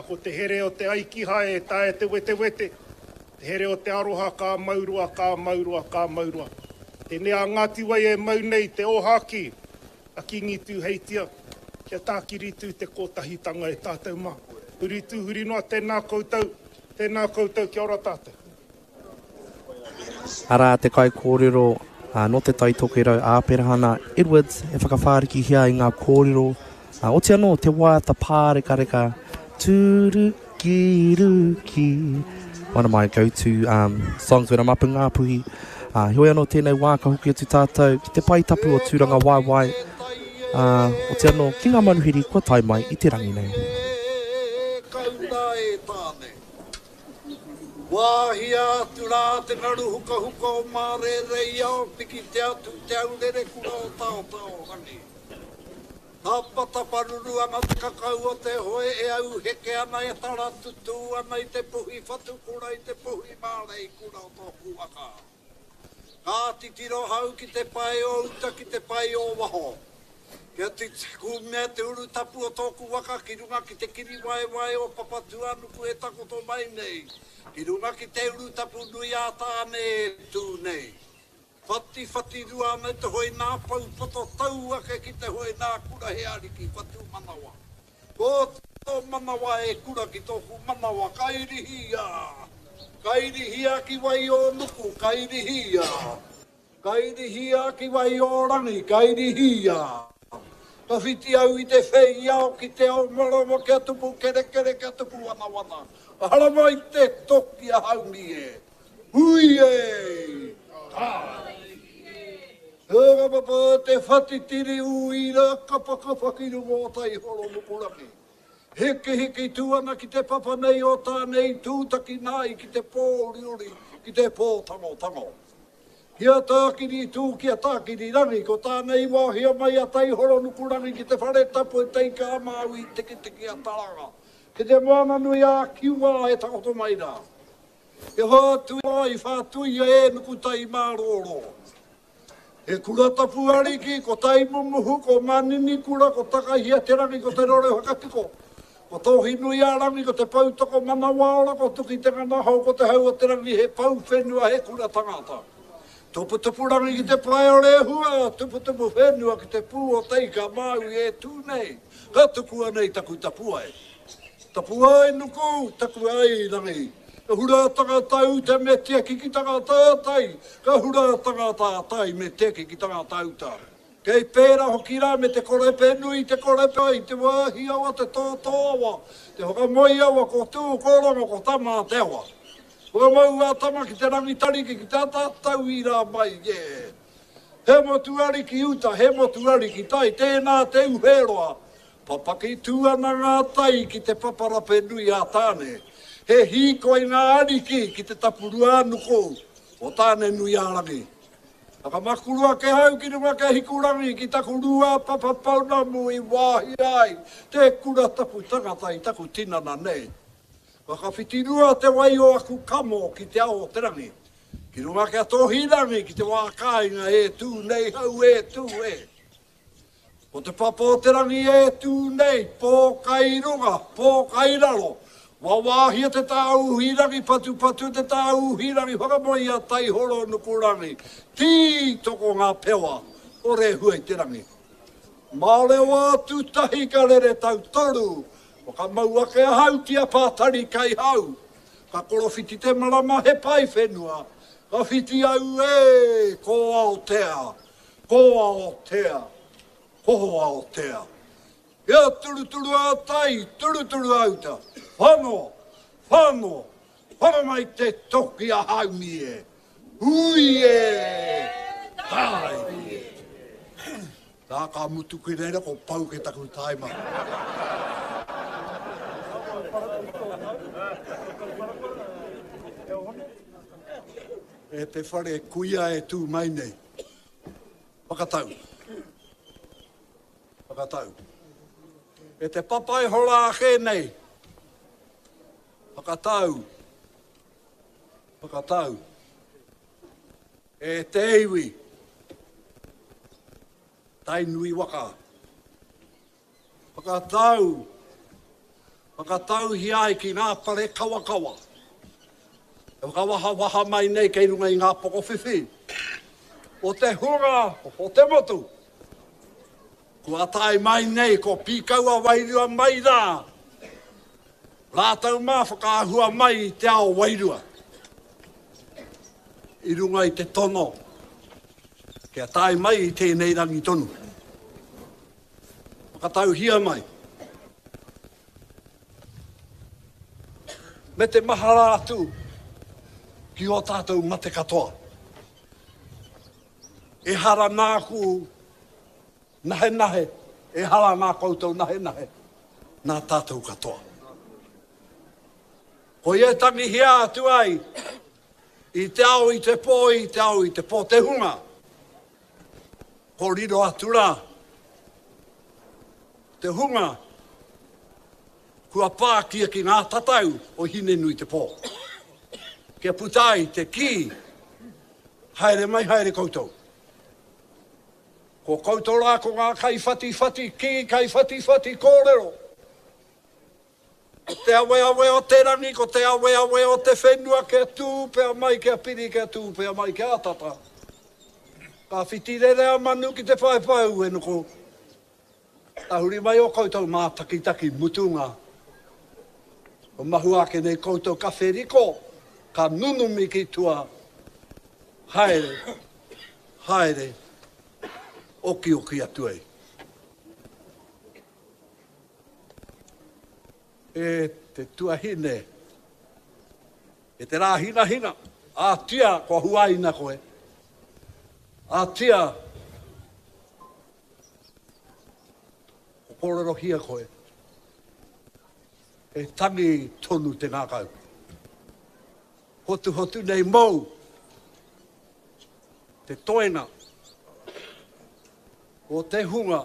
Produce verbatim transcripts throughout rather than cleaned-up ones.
ko te here o te aikihae e tae te wetewete, te here o te aroha ka mauroa, ka mauroa, ka mauroa. Tēnei a Ngāti Wai e mau nei te ōhākī a Kīngi Tūheitia, kia tākiri tū te kōtahitanga e tātou mā. Huri tū, huri noa, tēnā koutou, tēnā koutou, kia ora tātou. Arā te kaikōrero nō Te Tai Tokerau a Aperahana Edwards e whakawhārikihia i ngā kōrero, oti anō te waiata pārekareka Tūruki ruki. One of my go-to um, songs when I'm up in Ngāpuhi. Uh, heoi anō tēnei wā ka hoki atu tātou ki te pae tapu o Tūranga Waewae, uh, oti anō ki ngā manuhiri kua tae mai i te rangi nei. E kauna e Tāne. Wāhia atu rā te ngaru hukahuka o Mārēreiao, piki te atu te aurere kura o Taotao Rangi. Tapataparuru ana te kakau o te hoe e au heke ana e tara tutū ana i te puhi whatukura i te puhi mārei kura o tōku waka. Ka titiro hau ki te pae o uta ki te pae o waho. Kia kumea te uru tapu o tōku waka ki runga ki te kiri waewae o Papatūānuku e takoto mai nei. Ki runga ki te uru tapu nui a Tāne e tū nei. Whati whati rua ana te hoi nā pau poto tau ake ki te hoi nā kura he ariki whatu manawa. Ko tō manawa e kura ki tōku manawa, kairihia. Kairihia ki wai o nuku, kairihia. Kairihia ki wai o rangi, kairihia. Ka whiti au i te whei ao ki te ao marama kia tupu kerekere kia tupu wanawana. Ka haramai te toki a haumi e. Hui e! Tā! Hera papa te whatitiri uira kapakapa ki runga o Taihoro Nukurangi. Heke heke tū ana ki te papa nei o Tāne i tūtaki nā i ki te pō uriuri, ki te pō tango tango. Kia tākiri tū, kia tākiri rangi, ko Tāne i wāhia mai a Taihoro Nukurangi ki te whare tapu e Te Ika a Māui Tikitiki a Taranga, ki te moana nui a Kiwa e takoto mai rā. He whātui i whātuia e Nukutai mārōrō. He kura tapu ariki, ko Taimumuhu, ko Manini kura, ko Takahia te rangi, ko Te Rore Whakatiko. Ko Tōhi nui a rangi, ko Te Poutoko manawaora, ko Tuki te Nganahau, ko Te Hau o te rangi, he pou whenua, he kura tangata. Tuputupu rangi ki te pae o Rehua, tuputupu whenua ki te pū o Te Ika Māui e tū nei, ka tukua nei taku tapuae. Tapuae nuku, takuae rangi. Ka hura tangata uta me tiaki ki tangata tai, ka hura tangata tai me tiaki ki tangata uta. Kei pērā hoki rā me te korepe nui, te korepe i te wāhi awa, te tōtō awa, te whakamoe awa, ko tū, ko rongo, ko tama te awa. Whakamau a tama ki te rangitariki, ki te atatau i rā mai, yeah. He motu ariki uta, he motu ariki tai, tēnā te uheroa. Papaki tū ana ngā tai ki te paparape nui a Tāne. He hīkoi ngā ariki ki te tapurua nuku o Tāne nui a rangi. Whakamakuru ake hau ki runga ke hikurangi ki taku rua papapaunamu i wāhi ai te kura tapu tangata i taku tinana nei. Whakawhitirua te wai o aku kamo ki te ao o te rangi. Ki runga kia tōhi rangi ki te wā kāinga e tū nei hau e tū e. Ko te papa o te rangi e tū nei, pō kai runga, pō kai raro. Wawāhia te tāuhi rangi, patupatu te tāuhi rangi, whakamoe a Taihoro Nukurangi. Tī toko ngā pewa o Rehua i te rangi. Mārewa atu tahi ka rere tau toru, whakamau ake ahau ki a Pātari kai hau. Ka korowhiti te marama he pai whenua, ka whiti au e, ko Aotea, ko Aotea, ko Aotea. Ia turuturu a tai, turuturu auta, whano, whano, whano mai te toki a haumi e, hui e, tai e. Tā ka mutu ki reira ko pau ke taku taima. E te whare kuia e tū mai nei. Whakatau. Whakatau. E te papai hora ake nei. Whakatau. Whakatau. E te iwi. Tainui waka. Whakatau. Whakatauhia ai ki ngā pare kawakawa. E whakawahawaha mai nei kei runga i ngā pokowhiwhi. O te hunga, o te motu. Kua tae mai nei ko pīkaua wairua mai rā. Rātou mā whakaahua mai i te ao wairua. I runga i te tono. Kia tae mai i tēnei rangi tonu. Whakatauhia mai. Me te mahara atu ki o tātou mate katoa. E hara nāku nahe nahe, e hara nā koutou nahe nahe, nā tātou katoa. Ko ia tangihia atu ai, i te ao i te pō, i te ao i te pō te hunga. Ko riro atu rā, te hunga, kua pākia ki ngā tatau o Hinenui te pō. Kia puta ai te ki, haere mai haere koutou. Ko koutou rā ko ngā kaiwhatiwhati ki, kaiwhatiwhati kōrero. Ko te aweawe o te rangi, ko te aweawe o te whenua, kia tūpea mai, kia piri, kia tūpea mai, kia tata. Ka whitirere a manu ki te paepae uenuku. Tahuri mai o koutou mātakitaki mutunga. O mahu ake nei koutou ka wheriko, ka nunumi ki tua. Haere, haere, oki oki atu ai. E te tuahine, e te rā hinahina, a tia kua huaina koe, a tia ko kōrerohia koe, e tangi tonu te ngākau. Hotu hotu nei mou, te toenga, o te hunga,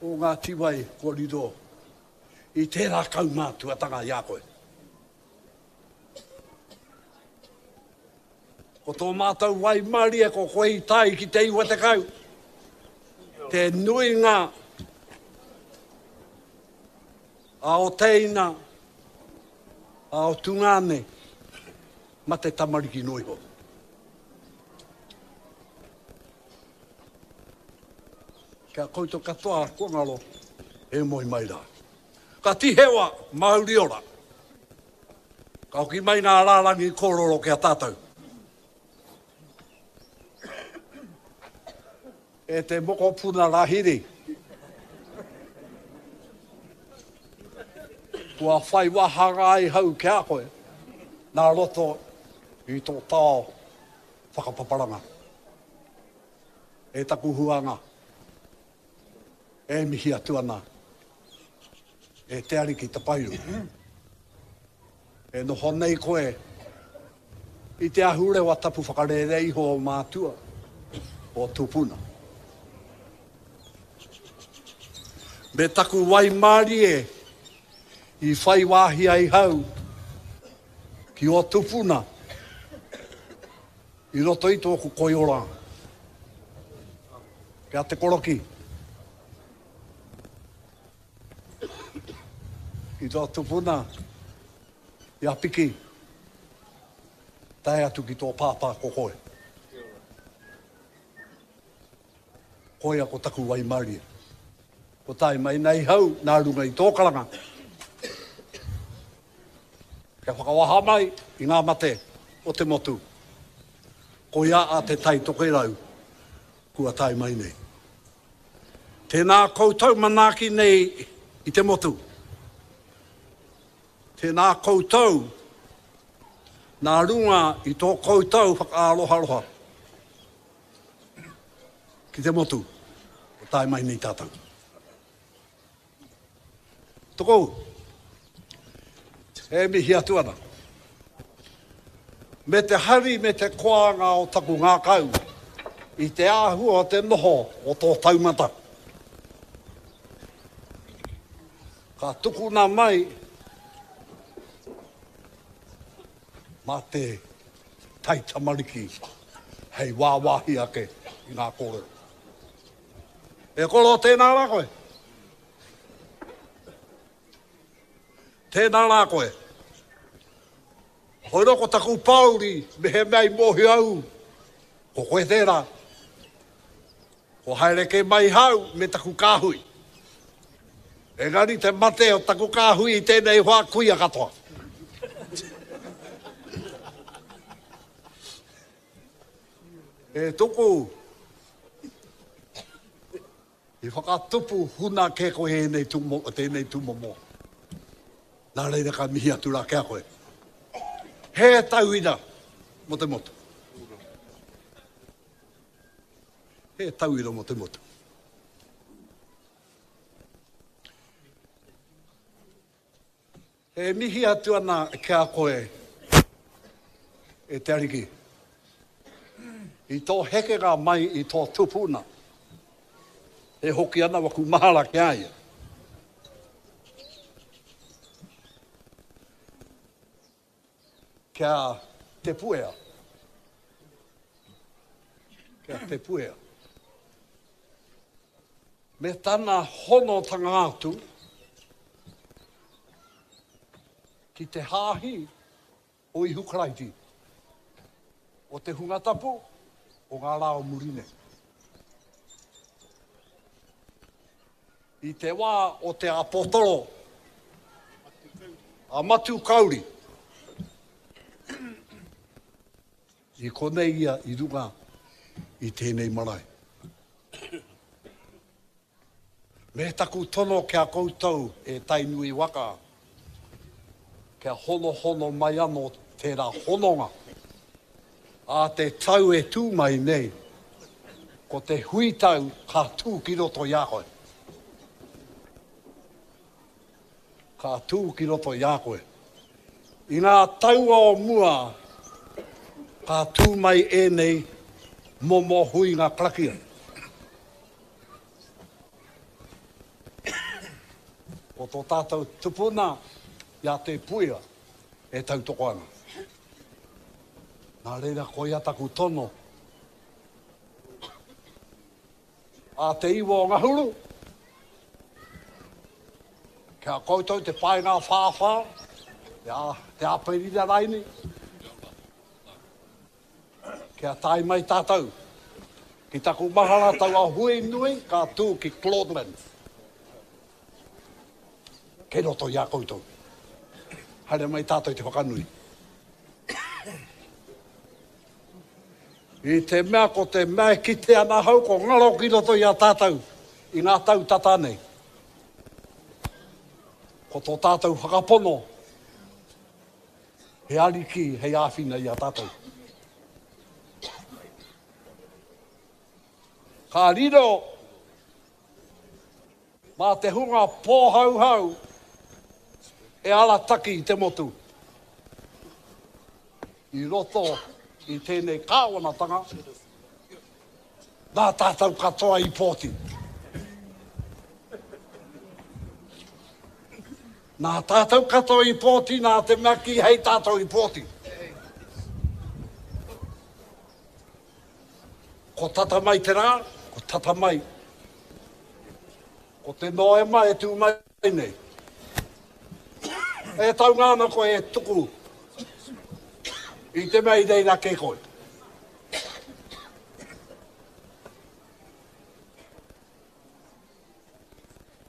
o ngā tiwai kua riro i tērā kaumātuatanga i a koe. Ko tō mātou waimarie ko koe i tae ki te iwa tekau. Te nuinga a o teina, a o tungāne, ma te tamariki noa iho. Kia koutou katoa kua ngaro, e moe mai rā. Ka tihewa, mauri ora. Ka hoki mai ngā rārangi kōrero ki a tātou. E te mokopuna Rahiri. Kua whai wāhanga ai hau ki a koe, nā roto i tō tao whakapaparanga. E taku huanga, e mihi atu ana, e te ariki tapairu. E noho nei koe i te ahurewa tapu whakarere iho o mātua, o tupuna. Me taku waimarie i whai wāhi ai hau ki o tupuna i roto i tōku koiora. Kia te koroki. I tō tupuna, i a piki, tae atu ki tō pāpā ko koe. Koia ko taku waimarie. Ko tae mai nei hau nā runga i tō karanga. Kia whakawaha mai i ngā mate o te motu. Koia a te tai tokerau kua tae mai nei. Tēnā koutou manaaki nei i te motu. Tēnā koutou nā runga i tō koutou whakaaroharoha ki te motu o tae mai nei tātou. Toko, e mihi atu ana. Me te hari me te koanga o taku ngākau i te āhua o te noho o tō taumata. Ka tukuna mai mā te taitamariki hei wāwāhi ake i ngā kōrero. E koro tēnā rā koe. Tēnā rā koe. Hoi ko taku pāuri, me he mea i mōhio au, ko koe tērā. Ko haere ke mai hau me taku kāhui. Engari te mate o taku kāhui i tēnei wā kuia katoa. E tuku, i whakatupu huna ke koe ēnei tūmo, tēnei tūmomo. Nā reira ka mihi atu rā kia koe. He tauira mo te motu. He tauira mo te motu. E mihi atu ana kia koe e te ariki. I tō hekenga mai i tō tupuna. E hoki ana waku mahara ki a ia. Kia te puea. Kia te puea. Me tana honotanga atu ki te hāhi o Ihu Karaiti, o te hunga tapu, o ngā rā o muri nei. I te wā o te apotoro, a Matu Kauri, i konei ia i runga i tēnei marae. Me taku tono kia koutou e Tainui waka, kia honohono mai anō tērā hononga. A te tau e tū mai nei, ko te huitau ka tū ki roto i a koe. Ka tū ki roto i a koe. I ngā taua o mua, ka tū mai ēnei momo huinga karakia. Ko tō tātou tupuna i a te puia e tautoko ana. Nā reira koia taku tono. A te iwa o Ngahuru, kia koutou te paenga whāwhā, te, a, te Aperira raini, kia tae mai tātou. Ki taku mahara taua hui nui ka tū ki Claudelands. Kei roto i a koutou. Haere mai tātou te whakanui. I te mea ko te mea e kite ana hau ko ngaro ki roto i a tātou i ngā tau tata nei. Ko tō tātou whakapono he ariki hei āwhina i a tātou. Ka riro mā te hunga pōhauhau e arataki i te motu. I roto i tēnei kāwanatanga, nā tātou katoa i pōti. Nā tātou katoa i pōti, nā te mea ki hei tātou i pōti. Ko tata mai te rā, ko tata mai. Ko te Noema e tū mai nei. E taunga ana koe e tuku i te mea i reira ke koe.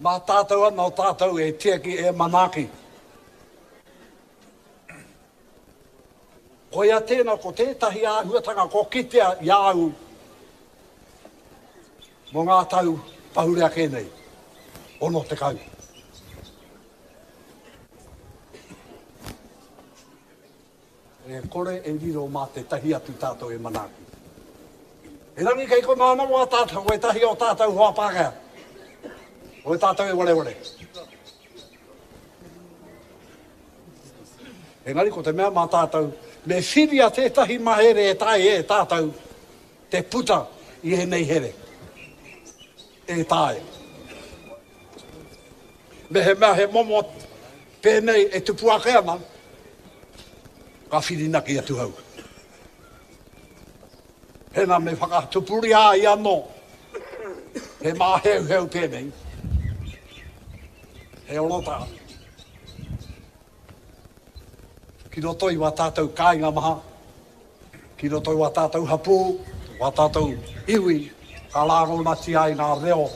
Mā tātou ana o tātou e tiaki e manaaki. Koia tēnā ko tētahi āhuatanga ko kitea i a au mō ngā tau pahure ake nei, ono tekau. E kore e riro mā te tahi atu tātou e manaaki. E rangi kei ko nāna wā tātou, e tahi o tātou hoa Pākehā. O e tātou e wareware. Engari ko te mea mā tātou, me whiria tētahi mahere e tae e tātou te puta i ēnei here. E tae. Me he mea he momo pēnei e tupu ake ana, ka whirinaki atu hau. Hena me whakatupuri ai anō, he māheuheu pēnei, he orota. Ki roto i wā tātou kāinga maha, ki roto i wā tātou hapū, wā tātou iwi, ka rāngonatia ai ngā reo